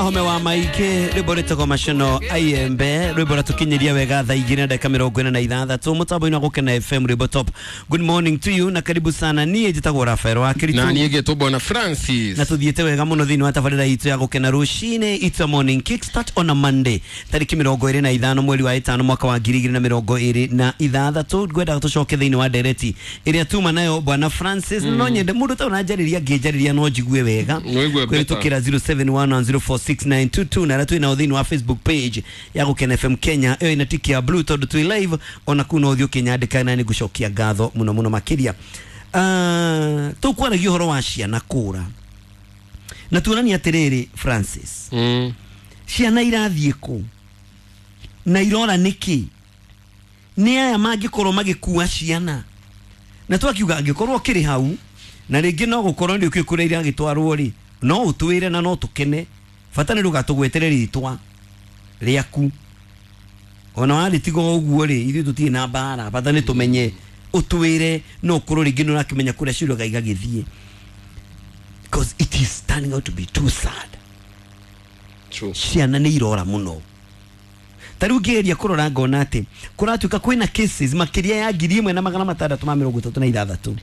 Home wa maingĩ rwĩmbo rwĩtagwo macono aiembe rwĩmbo rwatũkinyĩria wega thaa igĩrĩ na ndagĩka 46 mũtambo-inĩ wa Gũkena FM rwĩmbo top. Good morning to you na karibu sana. Niĩ njĩtagwo Rafael wa Kiritu na niĩ ngĩtwo Bwana Francis na tuthiĩte wega mũno thĩinĩ wa tabarĩra itũ ya Gũkena rũcinĩ. It's a morning kickstart on a Monday tarĩki 25 mweri wa ĩtano mwaka wa 2026. Ngwendaga tũcoke thĩinĩ wa ndereti ĩrĩa tuma nayo Bwana Francis. No nyende mũndũ ta ũranjarĩria ngĩnjarĩria no njigue wega Ũigue better. kũhĩtũkĩra 0711046922 na arĩa twĩ nao thĩinĩ wa Facebook page ya Gũkena FM Kenya ĩyo ĩna tiki ya blue tondũ twĩ live ona kuu no ũthiĩ ũkĩnyandĩka na nĩ ngũcokia ngatho mũno mũno makĩria. Tũkwaragia ũhoro wa ciana kũra na tuonania atĩrĩrĩ Francis, ciana irathiĩ kũ na irora nĩkĩ? Nĩ aya mangĩkorwo magĩkua ciana na twakiuga angĩkorwo ũkĩrĩ hau na rĩngĩ no gũkorwo nĩ ũkĩũĩ kũrĩa iragĩtwarwo rĩ, no ũtwĩre na no tũkene, bata nĩ ndũgatũgwetere rĩtwa rĩaku ona warĩtiga o ũguo rĩ, ithuĩ tũtirĩ na mbara, bata nĩ tũmenye ũtwĩre no ũkorwo rĩngĩ nĩ ũrakĩmenya kũrĩa ciũraga igagĩthiĩ, because it is turning out to be too sad. True. Ciana nĩ irora mũno. Ta rĩu ngĩgeria kũrora ngona atĩ kũratuĩka kwĩna cases makĩria ya 1636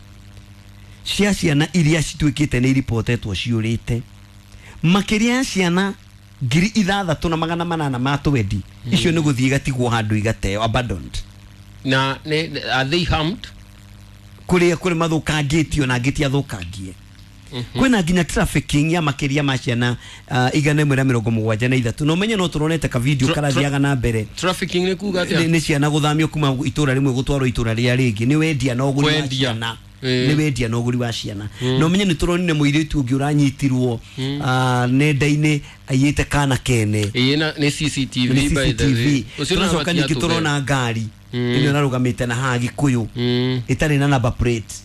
cia ciana iria cituĩkĩte nĩ iripotetwo ciũrĩte, makĩria ya ciana 6820 ma twendi icio nĩ gũthiĩ igatigwo handũ igateo, abandoned. Na nĩ are they harmed? Kũrĩa kũrĩ mathũkangĩtio na angĩ ti athũkangie. Kwĩna nginya trafficking ya makĩria ma ciana 173, na ũmenye no tũronete ka video karathiaga na mbere. Trafficking nĩ kuga nĩ atĩa? Nĩ ciana gũthamio kuma itũra rĩmwe gũtwarwo itũra rĩrĩa rĩngĩ, nĩ wendia na ũgũri wa Kwendia. ciana. Nĩ wendia na ũgũri wa ciana. Na ũmenye nĩ tũronire mũirĩtu ũngĩ ũranyitirwo nenda-inĩ aiyĩte kana kene. Ĩĩ, na nĩ CCTV. Nĩ By the way, CCTV. ũcio Tũracoka no ningĩ tũrona ngari ĩno ĩrarũgamĩte na haha Gĩkũyũ ĩtarĩ na number plate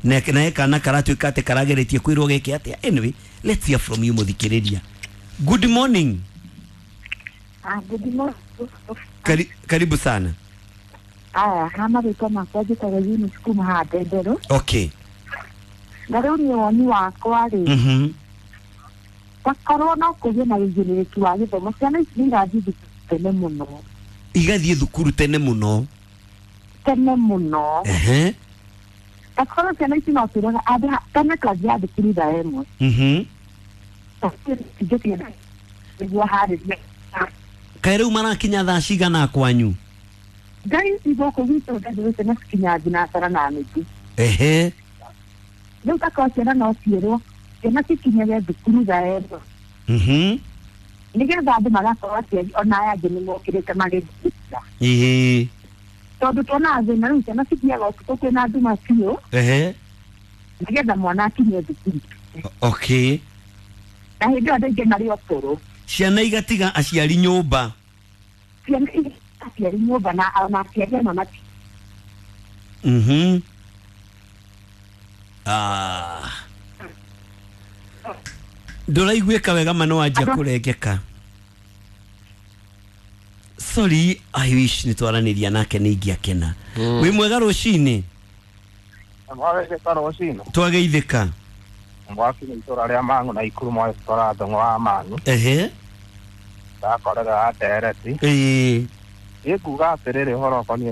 na kana karatuĩka atĩ karageretie kwĩrwo geke atĩa. Anyway, let's hear from you mũthikĩrĩria. Good morning. Ah, good morning. Karibu sana. Aya, ha marĩtwa makwa njĩtagwo Eunice kuma haha Ndenderũ. Na rĩu niĩ woni wakwa rĩ, takorwo no kũgĩe na ũigĩrĩrĩki wa gĩthomo, ciana ici nĩ irathiĩ thukuru tene mũno. Igathiĩ thukuru tene mũno. Tene mũno. Takorwo ciana ici no twĩraga andũ tene twathiaga thukuru thaa 1. Ingĩkienda nĩguo harĩria. Kaĩ rĩu marakinya thaa cigana kwanyu? Ngai ici gũkũ gwitũ Ndenderũ ciana cikinyaga thinacara na nuthu. Rĩu takorwo ciana no ciĩrwo ciana cikinyage thukuru thaa 1. Nĩgetha andũ magakorwo aciari ona aya angĩ nĩ mokĩrĩte magĩthikĩra. Tondũ tuonaga thĩna rĩu ciana cithiaga ũtukũ kwĩna nduma biũ nĩgetha mwana akinye thukuru. Na hĩndĩ ĩyo andũ aingĩ marĩ o toro. Ciana igatiga aciari nyũmba. Ciana igatiga aciari nyũmba na ona aciari amwe mati. Ah. Ndũraiguĩka wega ma no wanjia kũrengeka. Sorry, I wish nĩ twaranĩria nake nĩ ingĩakena. Wĩ mwega rũcinĩ? Mwagetheka rũcinĩ. Twageithĩka. Mwakinya itũra rĩa Mang'u na Ikuru mwagĩtwara thũng'wa wa Mang'u. Ndakorera ndereti. Ĩ nguga atĩrĩrĩ ũhoro ũkoniĩ